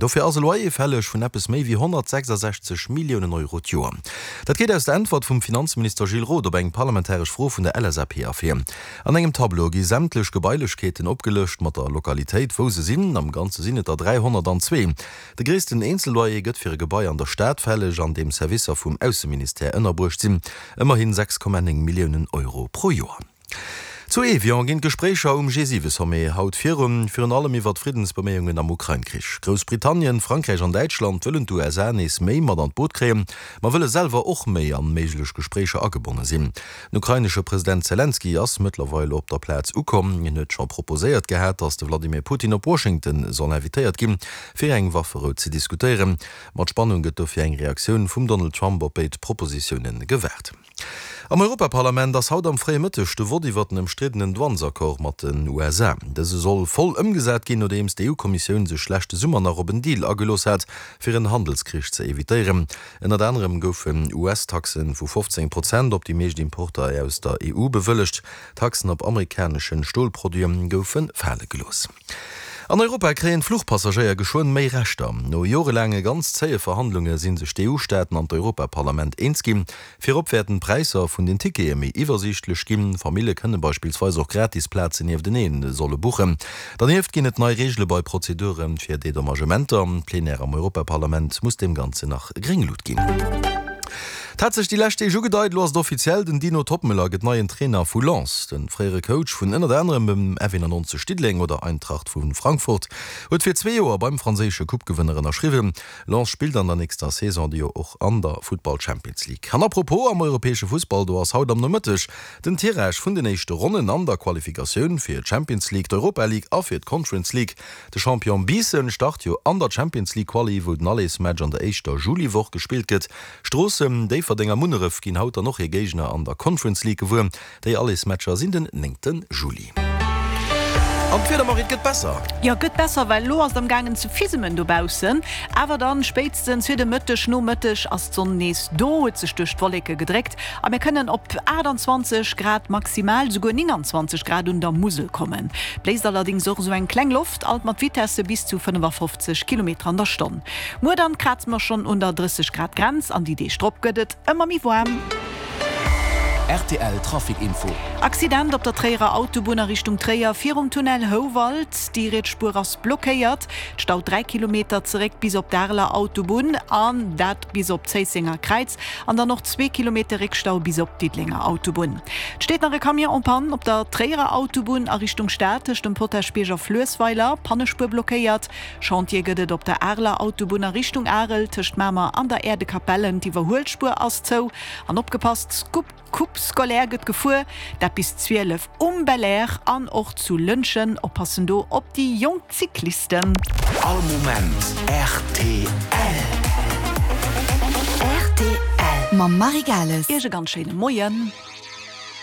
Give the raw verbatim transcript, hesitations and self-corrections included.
Dofir ass e Loyer fälleg vun eppes méi wéi honnertsechsasechzeg Milliounen Euro d'Joer. Dat geet aus der Äntwert vum Finanzminister Gilles Roth op eng parlamentaresch Fro vun der L S A P ervir. An engem Tableau gi sämtlech Gebailechkeeten opgelëscht mat der Lokalitéit, wou se sinn. Am Ganze sinn et der dräihonnertanzwee. De gréissten Eenzelloyer gëtt fir e Gebai an der Stad fälleg, an deem Servicer vum Ausseministère ënnerbruecht sinn, ëmmerhi sechs Komma néng Milliounen Euro pro Joer. Zu Evian ginn d'Gespréicher um G siwe Sommet haut virun, virun allem iwwer d'Friddensbeméiungen am Ukrain-Krich. Groussbritannien, Frankräich an Däitschland wëllen d'U S A nees méi mat an d'Boot kréien, ma wëlle selwer och méi an méiglech Gespréicher agebonne sinn. Den ukrainesche President Selenskyj ass mëttlerweil op der Plaz ukomm. Hien huet scho proposéiert gehat, datt de Vladimir Putin op Washington soll invitéiert ginn, fir eng Wafferou ze diskutéieren. Mat Spannung gëtt dofir eng Reaktioun vum Donald Trump op béid Propositioune gewaart. Am Europaparlament ass haut am fréie Mëtteg de Vott iwwer den ëmstriddenen Douanesaccord mat den U S A. Dëse soll voll ëmgesat ginn, nodeems d'E U-Kommissioun sech leschte Summer nach op en Deal agelooss hat, fir en Handelskrich ze evitéieren. Ënnert anerem goufen U S-Taxe vu fofzéng Prozent op déi meescht Importer aus der E U bewëllegt. Taxen op amerikanesche Stolproduite goufe fale gelooss. An Europa kréien d'Fluchpassagéier geschwënn méi Rechter. No jorelaange ganz zéie Verhandlunge si sech d'E U-Staaten an d'Europaparlament eens ginn. Virop wäerten d'Präisser vun den Tickete méi iwwersiichtlech ginn. Famillje kënne beispillsweis och gratis Plazen nieftenee solle buchen. Dernieft ginn et nei Reegele bei Prozedure fir Dedommagementer. D'Plenière am Europaparlament muss deem Ganzen nach gréng Lut ginn. Et hat sech déi lescht Deeg ugedeit, elo ass et offiziell, Den Dino Toppmöller gëtt neien Trainer vu Lens. De fréiere Coach vun ënnert anerem dem F eenannonzeg Diddeleng oder Eintracht vu Frankfurt huet fir zwee Joer beim franséische Coupe-Gewënner ënnerschriwwen. Lens spillt an der nächster Saison jo och an der Futtball Champions League. An apropos am europäesche Fussball, do ass haut am Nomëtteg den Tirage vun den éischte Ronnen an der Qualifikatioun fir d'Champions League, d'Europa League a fir d'Conference League. De Champion Biissen start jo an der Champions League Quali, wou den Allersmatch an der éischter Juliwoch gespillt gëtt. Stroossen, Déifferdeng a Munneref ginn haut dann och hir Géigner an der Conference League gewuer. Déi Allersmatcher sinn den néngte Juli. An d'Wieder, Marie, et gëtt besser. Jo, gëtt besser, well elo ass et am gaangen ze fisemen dobaussen. Awer dann spéitstens fir de Mëtteg, Nomëtteg ass d'Sonn nees do, huet sech duerch d'Wolleke gedréckt a mir kënnen op aachtanzwanzeg Grad maximal, souguer nénganzwanzeg Grad un der Musel kommen. Bléist allerdéngs och esou eng kleng Loft, alt mat Vitesse bis zu fënnefafofzeg Kilometer an der Stonn. Muer dann kraze mer schonn un der drësseg Grad Grenz an déi Deeg drop gëtt et ëmmer méi waarm. R T L Trafic Info. Accident op der Tréierer Autobunn a Richtung Tréier virum Tunnel Houwald. Déi riets Spuer ass blockéiert. Et staut dräi Kilometer zeréck bis op d'Areler Autobunn an dat bis op d'Zéissenger Kräiz an dann och zwee Kilometer Réckstau bis op d'Diddelenger Autobunn. Et steet nach e Camion en panne op der Tréierer Autobunn a Richtung Stad tëscht dem Potaschbierg a Fluessweiler, Pannespuer blockéiert. Chantier gëtt et op der Areler Autobunn a Richtung Arel tëscht Mamer an der Aire de Capellen, d'Iwwerhuelspuer ass zou. An opgepasst, Coupe scolaire gëtt gefuer, dat bis zwielef um Belair an och zu Lëntgen. Oppassen do op déi jonk Cyclisten. All Moment R T L. R T L mam Marie Gales. Iech e ganz schéine Moien.